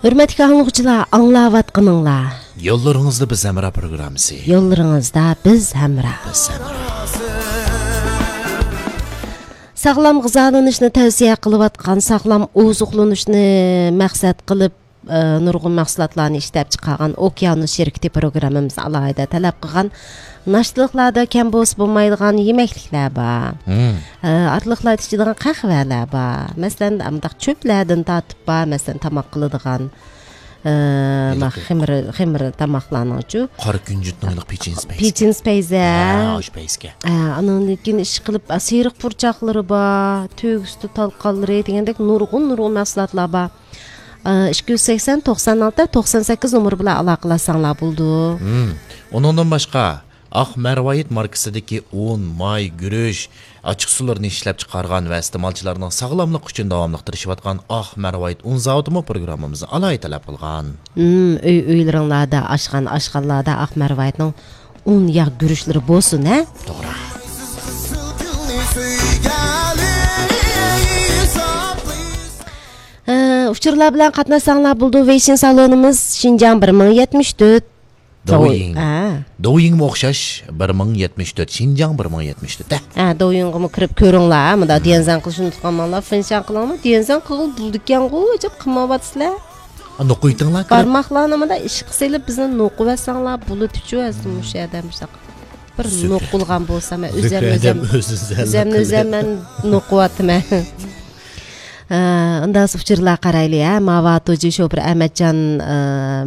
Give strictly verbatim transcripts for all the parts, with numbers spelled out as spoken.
ھۆرمەتلىك ئاڭلىغۇچىلار، ئاڭلاۋاتقىنىڭلار يوللىرىڭىزدا بىز ھەمراھ پروگراممىسى. يوللىرىڭىزدا بىز ھەمراھ. بىز ھەمراھ. ساغلام غىزالىنىشنى تەۋسىيە قىلىۋاتقان، ساغلام ئوزۇقلىنىشنى مەقسەت قىلىپ، ئە، نۇرغۇن مەھسۇلاتلارنى ئىشلەپ چىقارغان ئوكيانۇس شىركىتى پروگراممىمىزدا ئالاھىدە تەلەپ قىلغان ناشتىلىقلاردا كەم بولسا بولمايدىغان يېمەكلىكلەر بار. مم. ئە، ئارىلىقلاردا ئىچىدىغان قەھۋەلەر بار. مەسىلەن، مۇنداق چۆپلەردىن تارتىپ بار. مەسىلەن، تاماق قىلىدىغان، ئە، ھېلىقى خېمىر، خېمىر تاماقلارنىڭچۇ. قارا كۈنجۈتنىڭ ھېلىقى پېچىنىسى پەيزى. پېچىنىسى پەيزى. ھە، ئاشۇ پەيزكە. ئە، ئانىڭدىن كېيىن ئىشقىلىپ، ئە، سېرىق پۇرچاقلىرى بار، تۆگە سۈتى تالقانلىرى دېگەندەك نۇرغۇن، نۇرغۇن مەھسۇلاتلار بار. ئىككى يۈز سەكسەن، توقسان ئالتە، توقسان سەككىز نومۇر بىلەن ئالاقىلەشسەڭلار بولىدۇ. مم. ئۇنىڭدىن باشقا، ئاق مەرۋايىت ماركىسىدىكى ئۇن، ماي، گۈرۈچ، ئاچچىقسۇلىرىنى ئىشلەپچىقارغان ۋە ئىستېمالچىلارنىڭ ساغلاملىقى ئۈچۈن داۋاملىق تىرىشىۋاتقان ئاق مەرۋايىت ئۇن زاۋۇتىمۇ پروگراممىمىزنى ئالاھىدە تەلەپ قىلغان. مم، ئۆي-ئۆيلىرىڭلاردا، ئاشخانا-ئاشخانىلاردا ئاق مەرۋايىتنىڭ ئۇن ياغ گۈرۈچلىرى بولسۇن، ھە؟ توغرا. ئە، ئۇچۇرلار بىلەن قاتناشساڭلار بولىدۇ. ۋېيشىن سالونىمىز شىنجاڭ بىر مىڭ يەتمىش تۆت. دوۋيىڭ. ھە. دوۋيىڭمۇ ئوخشاش، بىر مىڭ يەتمىش تۆت، شىنجاڭ بىر مىڭ يەتمىش تۆت، ھە. ھە، دوۋيىڭغىمۇ كىرىپ كۆرۈڭلار، ھە. مۇنداق ديەنزەن قىلىشنى ئۇنتۇپ قالماڭلار، فېنشان قىلىڭلار، ديەنزەن قىلغىلى بولىدىكەنغۇ، ئەجەب قىلمايۋاتىسىلەر. نوقۇيتىڭلار كىرىپ. بارماقلارنى مۇنداق ئىشقا سېلىپ، بىزنى نوقۇۋەتسەڭلار بولىدىچۇ، ئەسلى مۇشۇ يەردە مۇشۇنداق بىر نوقۇلغان بولسام، مەن ئۆزۈمنى ئۆزۈم، ئۆزۈمنى ئۆزۈم مەن نوقۇۋاتىمەن. ئە، ئۇنداق ئۇچۇرلار قارايلى، ھە. ماۋۇ توجى شوپۇر ئەمەتجان، ئە،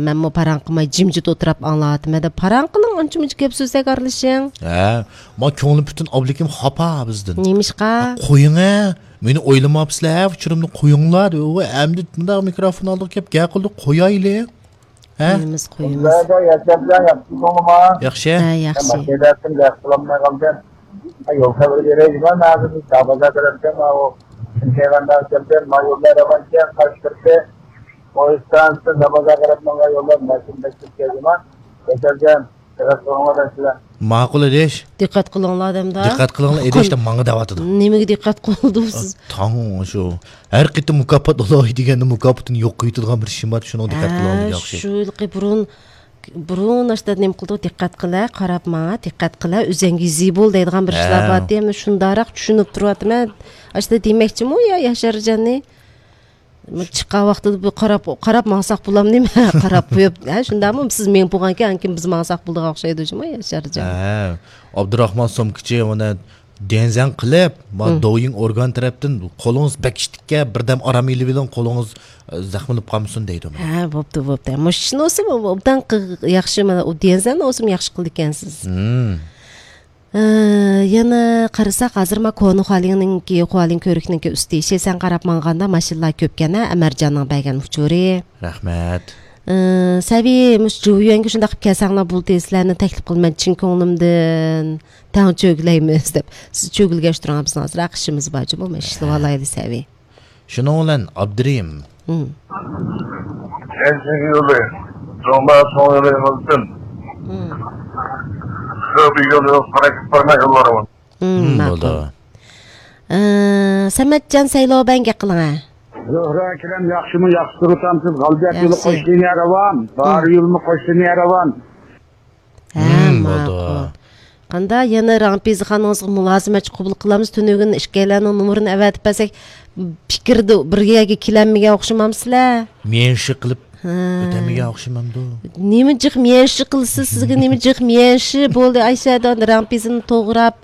مەنمۇ پاراڭ قىلماي جىمجىت ئولتۇراپ ئاڭلاۋاتىمەن دەپ، پاراڭ قىلىڭ، ئانچە مۇنچە گەپ سۆزلەرگە ئارىلىشىڭ. ھە، ما كۆڭلۈم پۈتۈن ئابلىكىم خاپا بىزدىن. نېمىشقا؟ ھە، قويۇڭ، ھە. مېنى ئويلىماپسىلەر، ھە، ئۇچۇرۇمنى قويۇڭلار دەپ. ئۇ ئەمدى مۇنداق مىكروفون ئالدىغا كەپ گەپ قىلدى، قويايلى. ھە؟ قويىمىز، قويىمىز. ياخشىمۇ؟ ياخشى. ھە، ياخشى. ماشىنىدىن گەپ قىلالماي قالدىم. يول خەۋىرى بېرەي دېمەن، ھازىر دابازا تەرەپكە، ماۋۇ شىنكەيۋەندان كەلدىم، ما يوللار راۋانكەن، قاش كىرسە، پويىز ئىستانسىسى دابازا تەرەپ ماڭغان يوللار ماشىنا بەك كۆپ كەلدى ما. ياشارجان، دىققەت قىلىڭلار دەيسىلەر. ماقۇل ئىدىش. دىققەت قىلىڭلار دەمدا. دىققەت قىلىڭلار ئىدىش دەپ ماڭا دەۋاتىدۇ. نېمىگە دىققەت قىلدىڭىز؟ تاڭ شۇ. ھەر قېتىم مۇكاپات ئالاي دېگەندە مۇكاپاتىنى يوقىتىدىغان بىر ئىشىم بار، شۇنىڭغا دىققەت قىلىڭلار دېگەن ئوخشايدۇ. شۇ بۇرۇن بۇرۇن ئاشتا نېمە قىلدۇق، دىققەت قىلە، قاراپ ماڭا، دىققەت قىلە، ئۆزەڭگە يېزى بول دەيدىغان بىر ئىشلار بارتى. ئەمدى شۇنداقراق چۈشىنىپ تۇرۇۋاتىمەن. ئاشتا دېمەكچىمۇ يا ياشارجاننى؟ چىققان ۋاقتىدا بۇ قاراپ، قاراپ ماڭساق بولامدۇ نېمە؟ قاراپ قويۇپ، ھە، شۇنداقمۇ؟ سىز مېڭىپ بولغانكەن، ئانكىن بىز ماڭساق بولىدىغان ئوخشايدۇ جۇمۇ، ياشارجان. ھە، ئابدۇراخمان سومكىچى مانا ديەنزەن قىلىپ، ما دوۋيىڭ ئورگان تەرەپتىن قولىڭىز بەك ئىششىقكەن، بىردەم ئارام ئېلىۋېلىڭ، قولىڭىز، ئە، زەخىملىنىپ قالمىسۇن دەيدۇ مانا. ھە، بوپتۇ، بوپتۇ. مۇشۇنىسى ئوبدان قىغ-، ياخشى، مانا ئۇ ديەنزەن ئوسۇم ياخشى قىلىدىكەنسىز. ھە، يەنە قارىساق، ھازىر ما كونا خۇالىڭنىڭكى، خۇالىڭ كۆۋرۈكنىڭكى ئۈستى، شىسەن قاراپ ماڭغاندا ماشىنىلار كۆپكەن ھە، ئەمەرجاننىڭ بەرگەن ئۇچۇرى. رەھمەت. ئە، سەۋى، مۇشۇ جۇۋيۈەنگە شۇنداق قىلىپ كەلسەڭلار بولدى، سىلەرنى تەكلىپ قىلىمەن چىن كۆڭلۈمدىن، تەڭ چۆگىلەيمىز دەپ. سىز چۆگىلىگەچ تۇرۇڭ، بىزنىڭ ئازراق ئىشىمىز بار جۇمۇ، مەن ئىشلىۋالايلى سەۋى. شۇنىڭ بىلەن ئابدۇرېھىم. ھىم. ئەنچۈكى يولى، جۇڭبا چوڭ يولى بولسۇن. ھىم. شۇ بىر يول يول قاراپ بارماي يوللارمۇ. ھىم، ھىم، ماقۇل. بولدى. ئە، سەمەتجان سەيلو بەن گەپ قىلىڭە. زۆھرە ئەكرەم ياخشىمۇ، ياخشى تۇرۇۋاتامسىز؟ غەلىبىيەت يولى قوشنىيە راۋان، بارى يولمۇ قوشنىيە راۋان. ھە، ھىم، ماقۇل. بولدى. قانداق يەنە رامپىزخانىڭىزغا مۇلازىمەتچى قوبۇل قىلامسىز؟ تۈنۈگۈن ئىككىيلەننىڭ نومۇرىنى ئەۋەتىپ بەرسەك، پىكىردە بىر يەرگە كېلەلمىگەن ئوخشىمامسىلەر؟ ميەنشى قىلىپ ھە. ئۆتەلمىگەن ئوخشىمامدۇ؟ نېمە جىق ميەنشى قىلىسىز؟ سىزگە نېمە جىق ميەنشى؟ بولدى، ئايشەدە رامپىزنى توغراپ،